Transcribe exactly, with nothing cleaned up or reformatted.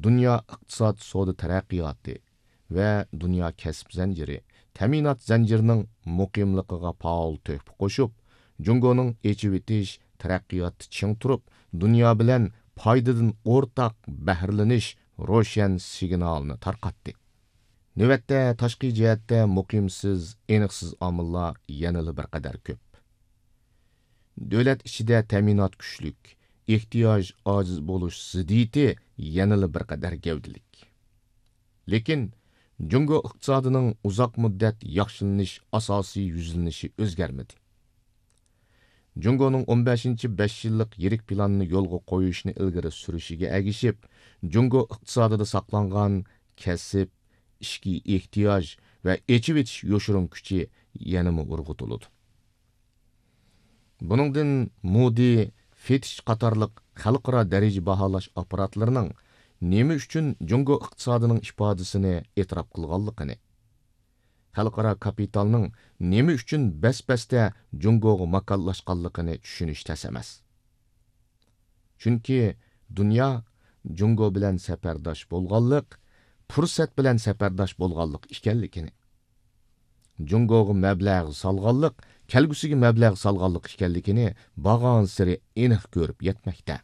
دۇنيا ئىقتىساد، سودا تەرەققىياتى ۋە دۇنيا كەسىپ زەنجىرى، تەمىنات زەنجىرىنىڭ مۇقىملىقىغا پائال تۆھپە قوشۇپ، جۇڭگونىڭ ئېچىۋېتىش تەرەققىياتتا چىڭ تۇرۇپ، دۇنيا بىلەن پايدىدىن ئورتاق بەھرىلىنىش روشەن سىگنالىنى تارقاتتى. نۆۋەتتە تاشقى جەھەتتە مۇقىمسىز، ئېنىقسىز ئامىللار يەنىلا بىر قەدەر كۆپ. دۆلەت ئىچىدە تەمىنات كۈچلۈك، ئېھتىياج ئاجىز بولۇش زىددىيىتى يەنىلا بىر قەدەر گەۋدىلىك. لېكىن، جۇڭگو ئىقتىسادىنىڭ ئۇزاق مۇددەت ياخشىلىنىش ئاساسىي يۈزلىنىشى ئۆزگەرمىدى. جۇڭگونىڭ ئون بەشىنچى بەش يىللىق يىرىك پىلانىنى يولغا قويۇشنى ئىلگىرى سۈرۈشىگە ئەگىشىپ، جۇڭگو ئىقتىسادىدا ساقلانغان كەسىپ، ئىچكى ئېھتىياج ۋە ئېچىۋېتىش يوشۇرۇن كۈچى يەنىمۇ ئۇرغۇتۇلىدۇ. بۇنىڭدىن مودى، فىتچ قاتارلىق خەلقئارا دەرىجە باھالاش ئاپپاراتلىرىنىڭ نېمە ئۈچۈن جۇڭگو ئىقتىسادىنىڭ ئىپادىسىنى ئېتىراپ قىلغانلىقىنى، خەلقئارا كاپىتالنىڭ نېمە ئۈچۈن بەس-بەستە جۇڭگوغا ماكانلاشقانلىقىنى چۈشىنىش تەس ئەمەس. چۈنكى دۇنيا جۇڭگو بىلەن سەپەرداش بولغانلىق، پۇرسەت بىلەن سەپەرداش بولغانلىق ئىكەنلىكىنى، جۇڭگوغا مەبلەغ سالغانلىق، كەلگۈسىگە مەبلەغ سالغانلىق ئىكەنلىكىنى بارغانسېرى ئېنىق كۆرۈپ يەتمەكتە.